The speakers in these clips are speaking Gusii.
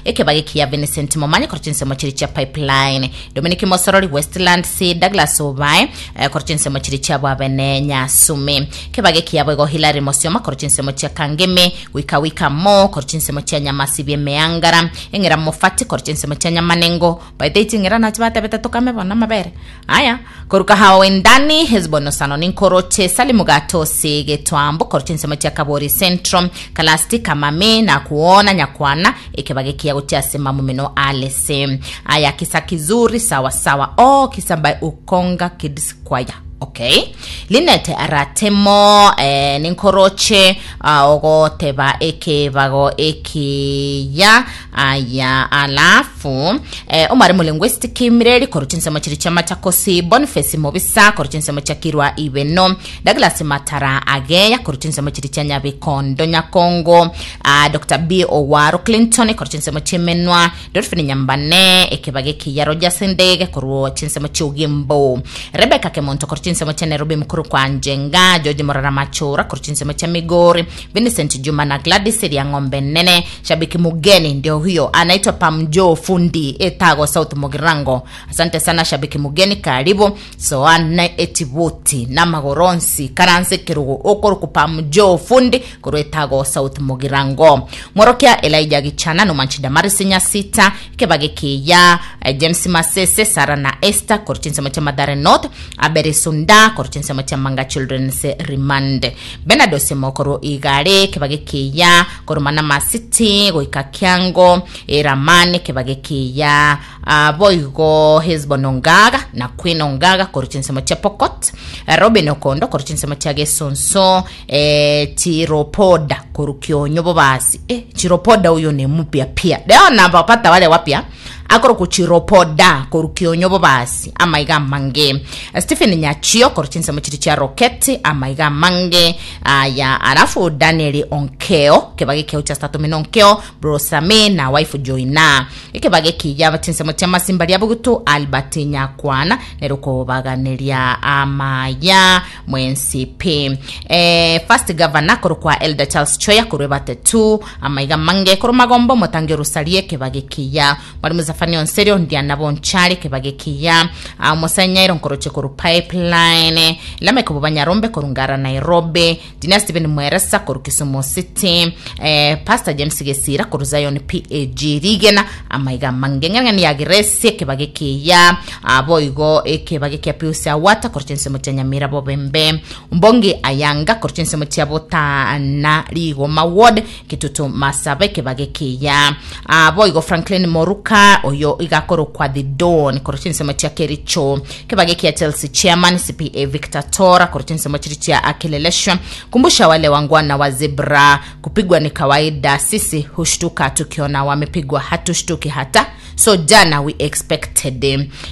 Ekebage kia Vincent Momanye korwa chinsemo chiria chia Pipeline, Dominic Mosorori Westlands, Douglas Obae eh, korwa chinsemo chiria chia Bwabene Nyasume. Ekebage kiabo igo Hilary Mosioma korwa chinsemo chia Kangemi, Wika Wika Mo korwa chinsemo chia Nyamasibi Emeangara, Eng'era Mofati korwa chinsemo chia Nyamanengo, Baete ching'era nachi batebete tokame bono amabere. Aya, koruka hao endani Hesbon osano ninkoroche Salimu gatosi getwambo korwa chinsemo chia Kabori Central Kalasti kamame nakuona nyakwana ekebage kiya gochia ase mamumino alese. Aya kisa kizuri sawa sawa oh kisa by Ukonga Kids Choir. Okay. Linet Ratemo eh, ninkoroche ah, ogoteba ekebago ekiya Aya alafu eh, omwarimu linguistic Mireri korwa chinsemo chiri chia Machakosi, Boniface Mobisa korwa chinsemo chia Kirwa Ibeno, Douglas Matara Ageya korwa chinsemo chiri chia Nyabikondo Nyakongo, ah, Dr. B Owaro Clinton korwa chinsemo chia Emenwa, Dolphin Nyambane ekebage kiya Rogers Ndege korwa chinsemo chia Ogembo, Rebecca Kemonto korwa chinsemo chia Nairobi mukuru kwa Njenga, George Morara Machura korwa chinsemo chia Migori, Vincent Juma na Gladys Riang'ombe Nene Shabiki mugeni ndio huyo anaitwa Pamjo Fundi Etago South Mugirango. Asante sana shabiki mugeni, karibu soana etibuti namagoronsi karanse kerugo okoruku Pamjo Fundi korwa Etago South Mugirango. Mworokia Elijah Gichana nomanchi Damaris Nyasita kebage kiya eh, James Masese Sara na Esther korwa chinsemo chia Mathare North Aberi Sunda korwa chinsemo chia Manga Children's Remand Bernard Osemo korwa Igare kebage kiya korwa Manama City goika Kiango Eramani kebage kiya ah, boigo Hesbon Ongaga na Queen Ongaga korwa chinsemo chia Pokot eh, Robin Okondo korwa chinsemo chia Gesonso eh, Chiropoda korwa Kionyo Bobasi eh, Chiropoda uyo ni mupya pia leo nabapata wale wapya akorokwa Chiropoda korwa Kionyo Bobasi amaiga amange Stephen Nyachio korwa chinsemo chiri chia Roketi amaiga amange aya alafu Daniel Onkeo kebage keo cha Statomino Onkeo Brosame na wife Joina ekebage kiya chinsemo chia Masimba ria Bugutu Albert Nyakwana nero kobaganeria amaya mwensi pi eh, first governor korwa kwa Elder Charles Choya korwa Ebate 2 amaiga mange korwa Magombo Motangi Orusarie kebage kiya Mwalimu Zafania Onserio Ndiana Bonchari kebage kiya ah, Omosanyairo nkoroche korwa Pipeline Lameck Bobanyarombe korwa Ngara Nairobi Junior Stephen Mweresa korwa Kisumu City eh, Pastor James Gesira korwa Zion PAG Rigena amaiga mange ng'ang'ani ya Grace ekebage kiya ah, boigo ekebage kia Pius Awata korwa chinsemo chia Nyamira Bobembe Mbongi Ayanga korwa chinsemo chia Botana Rigoma Ward Kitutu Masaba ekebage kiya ah, boigo Franklin Moruka oyo igakorokwa The Don korwa chinsemo chia Kericho Kebage kia Chelsea chairman CPA Victor Tora korwa chinsemo chiri chia Akileleshwa kumbusha wale wangwana wa zebra kupigwa ni kawaida sisi hushtuka tukiona wamepigwa hatushtuki hata so jana we expected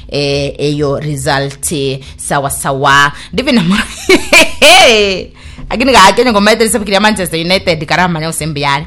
eh, eyo result sawa sawa ndivina lakini gakenya ngomaeteresa fikiria Manchester United karamanya osembiare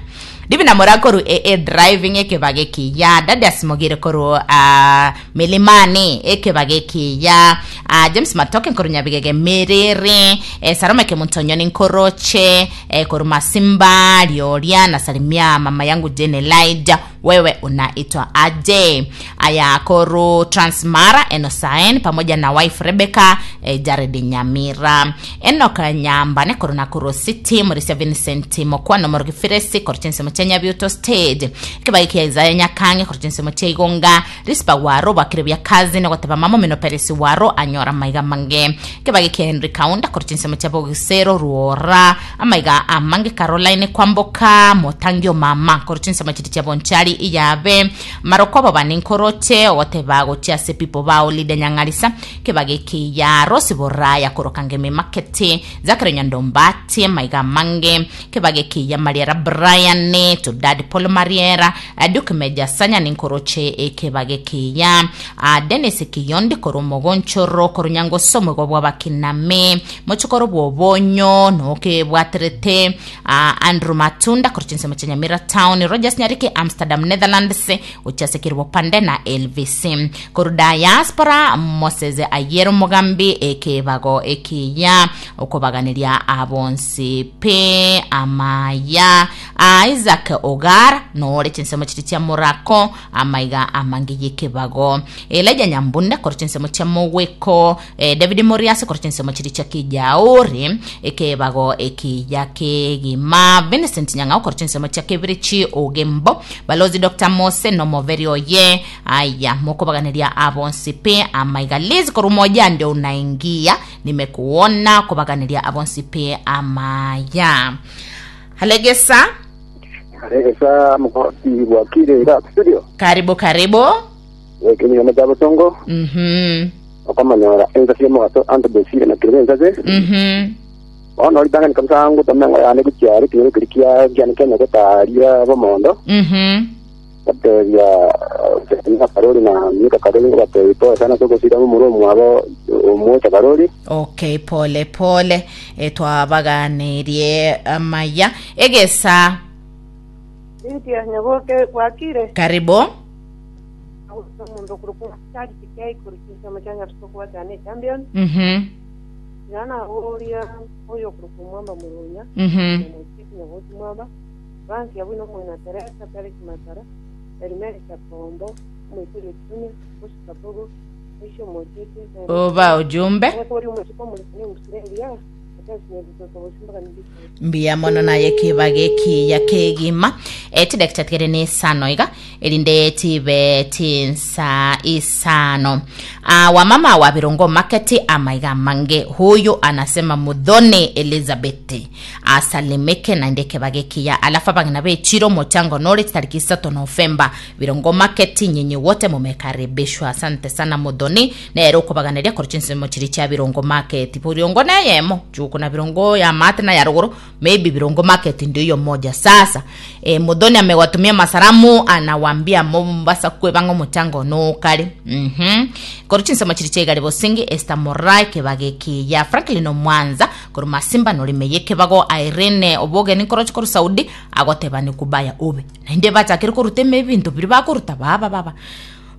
Divina Mora koru AA driving ekebage kiya Dadius Mogire koru uh, Milimani ekebage kiya uh, James Matoke koru Nyabigege Miriri eh, Sarome Kemuntonyoni Nkoroche eh, koru Masimba Lioria nasalimia mama yangu Jane Elijah wewe unaitwa aje aya koru Transmara Enosaen pamoja na wife Rebecca eh, Jared Nyamira Enoch Nyambane koru Nakuru City Murisia Vincent Mokwano Morogi Firesi koru chinsemo chia Nyabiuto Stage ekebago kia Isaiah Nyakange koru chinsemo chia Igonga Rispa Waro bakire bia kazi nogoteba mamo mino Peresi Waro anyora maiga mange ekebago kia Henry Kaunda koru chinsemo chia Bogisero Ruora amaiga amange Caroline Kwamboka Motangio mama koru chinsemo chiri chia Bonchari Iyabe Marokobo bane nkoroche ogoteba gochia ase pipo bao Lydia Nyang'arisa Kebage kiya Rose Boraya koroka ngeme Makete Zachary Nyandombati maiga mange Kebage kiya Mariera Brian to Dad Paul Mariera eh, Duke Meja Sanya ninkoroche ekebage kiya ah, Dennis Kiyondi koro mogonchoro koro nyangoso mogo bwa bakiname mochokoro bwobonyo noke bwaterete ah, Andrew Matunda koro chinsemo chia Nyamira Town Rogers Nyariki Amsterdam. Amsterdam Netherlands gochia ase Kerubo Pande na Elvis Koru diaspora Moses Ayiero Mogambi ekebago ekiya okobaganeria abonsi pi amaya Isaac Ogara nore chinsemo chiri chia Morako amaiga amange yekebago Elijah Nyambunde korwa chinsemo chia Mogweko eh, David Moriasi korwa chinsemo chiri chia Kijauri ekebago ekiya kegima Vincent Nyang'au korwa chinsemo chia Kebirichi Ogembo Balozi Dr. Mose nomoveri oye aya mokobaganeria abonsi pi amaiga Liz korwa moja ndio unaingia nimekuona kobaganeria abonsi pi amaya Halegesa Aregesa mukoti bwakire iga studio. karibu karibu Ekenyoma kya Bosongo okomanyora ensa cia mogaso anto besire na kirebe ensa se. Bono ritang'ani kabisa ngotoma engo yane gochia are ekenyoro keria kia kiane kia Nyagetari Bomondo. Batebia Jeremia Karori na Mika Karori ngobatebia pole sana ase ogosira momura omwabo Omwocha Karori. Okay, pole pole e, twabaganirie amaya egesa Lydia Nyaboke bwakire karibu omonto okorokwa Charles K korwa chinsemo chia Nyarusi okobwatana echampion Yana oria oyo okorokwa Mwamba Murunya Omochiki Nyabosi Mwamba Fransi abwo nomong'ina Teresa Felix Matara Elimeri Chakombo Omoituri Ochunya Oscar Bogo Oishe Omochiki Oba ujumbe Omotori omochiko omorikani omusire engiya Mathias Nyabutoka Bosimba Kanibisa Mbuya mono naye kibaga ekiya kegima. E, chidakika tigere ne isano iga erinde chibe chinsa isano. Ah, wamama wa Birongo Market amaiga amange huyu anasema Muthoni Elizabeth asalimike naende ekebaga ekiya alafu abang'ina bechiro omochango nore chitariki isato Novemba Birongo Market nyinyi wote mumekaribishwa asante sana Muthoni Nere okobaganeria korwa chinsemo chiria chia Birongo Market. Birongo neyemo, juko na Birongo ya maate na ya rogoro, maybe Birongo Market ndio hiyo moja. Sasa e, Muthoni amewatumia masalamu anawambia Mombasa kwebanga omochango nokare. Mhm. Korwa chinsemo chiria chia Igare Bosingi, Esther Morai kebage kiya Franklin Omwanza korwa Masimba norime yekebago Irene Obogeni nkoroche korwa Saudi agoteba ni kubaya obe. Naende bachakire koruta ime ebinto biria bakoruta baba baba.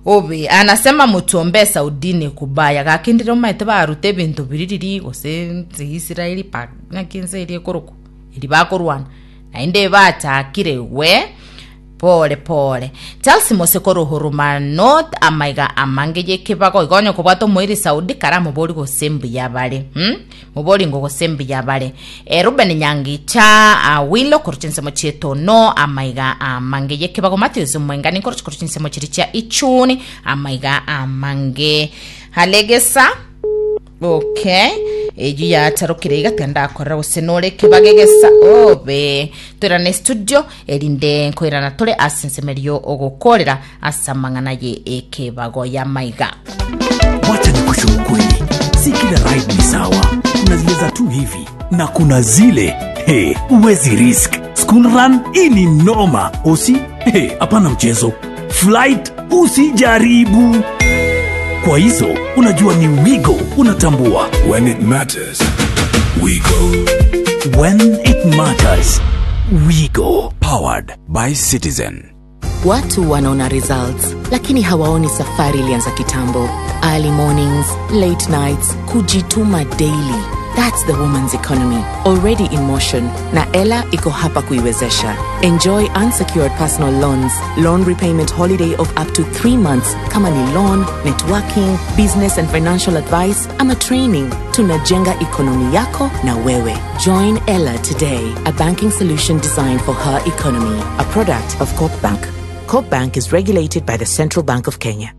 Obe anasema mochombe Saudini kubaya gaki ndire omaete barute ebinto biria riria gose nse Israeli pa naki ense eria ekorokwa eri bakorwana naende bachakire we pole pole Charles Mose korwa Huruma North amaiga amange yekebago igo onye kobwata omoiri Saudi kare amobori gose mbuya bare hmm? Moboringo gose mbuya bare. E, Ruben Nyangicha Awilo korwa chinsemo chi'etono amaiga amange y'ekebago Matthews Omwengani korwa korwa chinsemo chiria chia Ichuni amaiga amange Halegesa okay eyu yacharokire iga tiga gose nore ekebago egesa obe toirane studio erinde nkoirana tore ase ensemerio ogokorera ase amang'ana ye ekebago y'amaiga. Wacha nikushe ukweli, si kila ride ni sawa. Kuna zile za tu hivi na kuna zile hey, huwezi risk. School run hii ni noma. Usi hey, hapana mchezo. Flight usijaribu. Kwa hizo unajua ni Wigo, unatambua. When it matters, we go. When it matters, we go. Powered by Citizen. Watu wanaona results lakini hawaoni safari ilianza kitambo. Early mornings, late nights, kujituma daily. That's the woman's economy already in motion na Ela iko hapa kuiwezesha. Enjoy unsecured personal loans, loan repayment holiday of up to 3 months kama ni loan, networking, business and financial advice ama training. Tunajenga ekonomi yako na wewe. Join Ella today, a banking solution designed for her economy, a product of Corp Bank. Corp Bank is regulated by the Central Bank of Kenya.